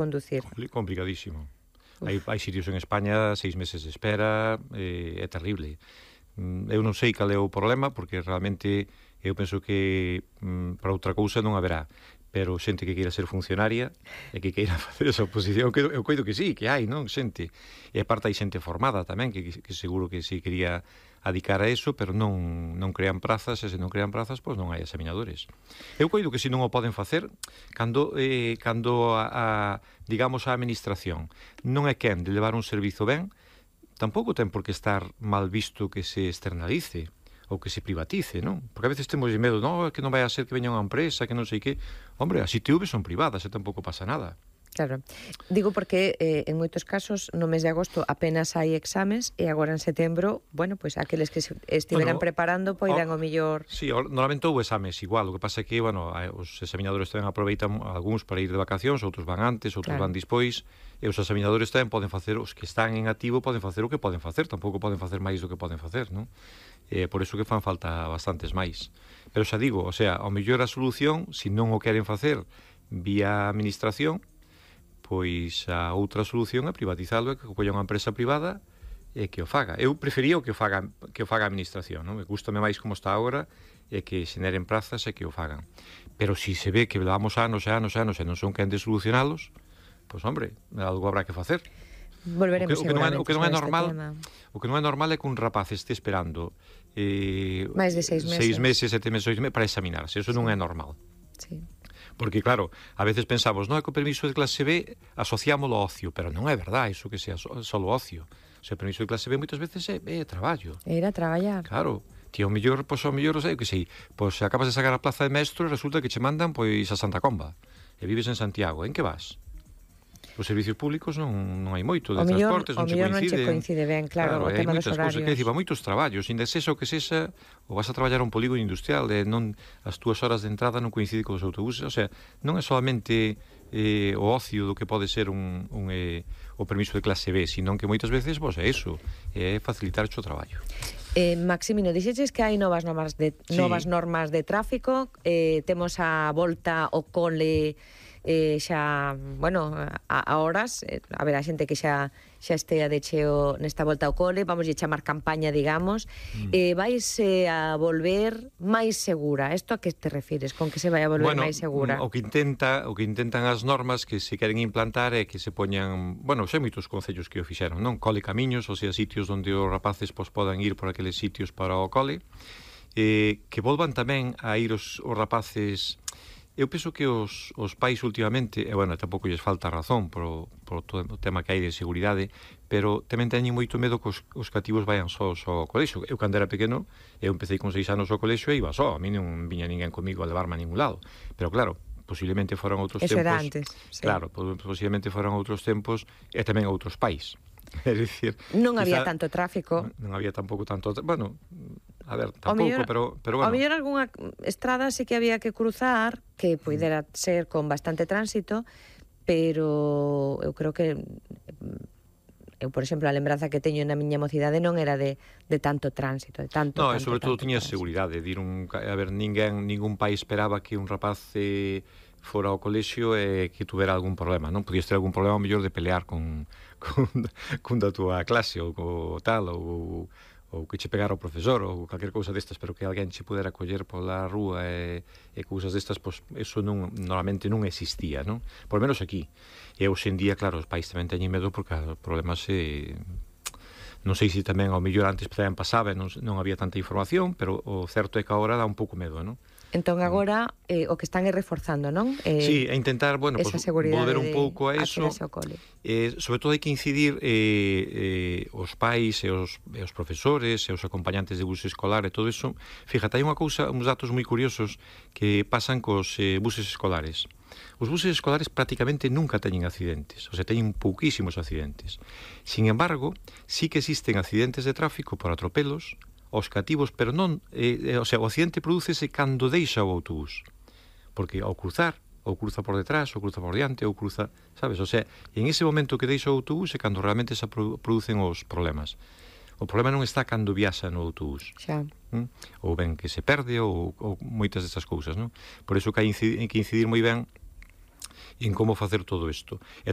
conducir. Complicadísimo. Hai sitios en España 6 meses de espera, é terrible. Eu non sei cal é o problema, porque realmente eu penso que para outra cousa non haberá, pero xente que queira ser funcionaria e que queira facer esa oposición, eu coido que sí, que hai, non, xente. E aparte hai xente formada tamén, que seguro que sí quería adicar a eso, pero non crean prazas, e se non crean prazas, pois non hai examinadores. Eu coido que se non o poden facer, cando digamos, a administración non é quen de levar un servizo ben, tampouco ten por que estar mal visto que se externalice ou que se privatice, non? Porque a veces temos medo, non, que non vai a ser que veña unha empresa, que non sei que. Hombre, as ITV son privadas e tampouco pasa nada. Claro. Digo porque en moitos casos no mes de agosto apenas hai exames e agora en setembro, bueno, pois aqueles que estiveran preparando poidan o mellor... Sí, normalmente houve exames igual, o que pasa é que, bueno, os examinadores tamén aproveitan algúns para ir de vacacións, outros van antes, outros van despois, e os examinadores tamén poden facer, os que están en activo poden facer o que poden facer, tampouco poden facer máis do que poden facer, non? Por iso que fan falta bastantes máis. Pero xa digo, o sea, ao mellor a solución, se non o queren facer vía administración, pois a outra solución é privatizalo, é que colla unha empresa privada e que o faga. Eu prefería que o faga a administración, non? Me gustame máis como está agora e que xeneren prazas e que o fagan. Pero se se ve que levamos anos e non son quen de solucionalos, pois hombre, algo habrá que facer. Volveremos seguramente o que non é normal, o que non é normal é que un rapaz este esperando máis de 6 meses. 6 meses, 7 meses, 8 meses para examinarse. Eso non é normal. Sí. Porque, claro, a veces pensamos, non é que o permiso de clase B asociámolo ao ocio, pero non é verdade iso que sea só ocio. O sea, o permiso de clase B moitas veces é traballo. Era traballar. Claro. Ti ao mellor, sei, que sei, pois acabas de sacar a plaza de maestro e resulta que che mandan pois a Santa Comba. E vives en Santiago. En que vas? Os servicios públicos non hai moito de transportes, non che coincide. O mellor non che coincide ben, claro, o tema dos horarios. Que dicir, moitos traballos, inda sexa o que sexa, ou vas a traballar a un polígono industrial, non as túas horas de entrada non coincide con os autobuses, o sea, non é solamente o ocio do que pode ser o permiso de clase B, sino que moitas veces, pois é iso, é facilitar o traballo. Maximino, dixeches que hai novas normas de tráfico, temos a volta ao cole xa, bueno, a horas, haberá xente que xa estea de cheo nesta volta ao cole, vamos a chamar campaña, digamos, vais a volver máis segura. Isto a que te refires? Con que se vai a volver máis segura? O que intentan as normas que se queren implantar é que se poñan, bueno, xa moitos concellos que o fixeron, non? Cole camiños, ou sea, sitios onde os rapaces podan ir por aqueles sitios para o cole, que volvan tamén a ir os rapaces. Eu penso que os pais últimamente, bueno, tampouco lles falta razón por todo o tema que hai de seguridade, pero tamén teñen moito medo que os cativos vayan sós ao colexo. Eu, cando era pequeno, eu empecé con 6 anos ao colexo e iba só, a mí non viña ninguén comigo a levarme a ningún lado. Pero claro, posiblemente foran outros tempos. Eso era antes. Sí. Claro, posiblemente foran outros tempos e tamén outros pais. É dicir, non había tanto tráfico. Non había tampouco tanto, bueno, a ver, tampouco, pero bueno. A mellor algunha estrada sí que había que cruzar, que puidera ser con bastante tránsito, pero eu creo que por exemplo, a lembranza que teño na miña mocidade non era de tanto tránsito, de tanto. No, sobre todo tiña seguridade, a ver, ningún pai esperaba que un rapaz fora ao colexio e que tuvera algún problema, non? Podías ter algún problema ao mellor de pelear con da túa clase ou tal, ou que che pegara o profesor ou calquer cousa destas, pero que alguén che pudera coller pola rúa e cousas destas, pois eso normalmente non existía, non? Por lo menos aquí. E hoxe en día, claro, os pais tamén teñen medo porque os problemas non sei se tamén ao mellor antes tamén pasaba e non había tanta información, pero o certo é que agora dá un pouco medo, non? Entón agora o que están é reforzando, non? Sí, a intentar, bueno, pues, volver un pouco a eso. Sobre todo hai que incidir os pais e os profesores e os acompañantes de bus escolar e todo eso. Fíjate, hai unha cousa, uns datos moi curiosos que pasan cos buses escolares. Os buses escolares prácticamente nunca teñen accidentes, o sea, teñen pouquísimos accidentes. Sin embargo, sí que existen accidentes de tráfico por atropelos aos cativos, pero non, o sea, o accidente prodúcese cando deixa o autobús, porque ao cruzar, ou cruza por detrás, ou cruza por diante, ou cruza, sabes, o sea, en ese momento que deixa o autobús é cando realmente se producen os problemas. O problema non está cando viaxa no autobús. Xa. Ou ben que se perde, ou moitas destas cousas, non? Por iso que hai que incidir moi ben en como facer todo isto. E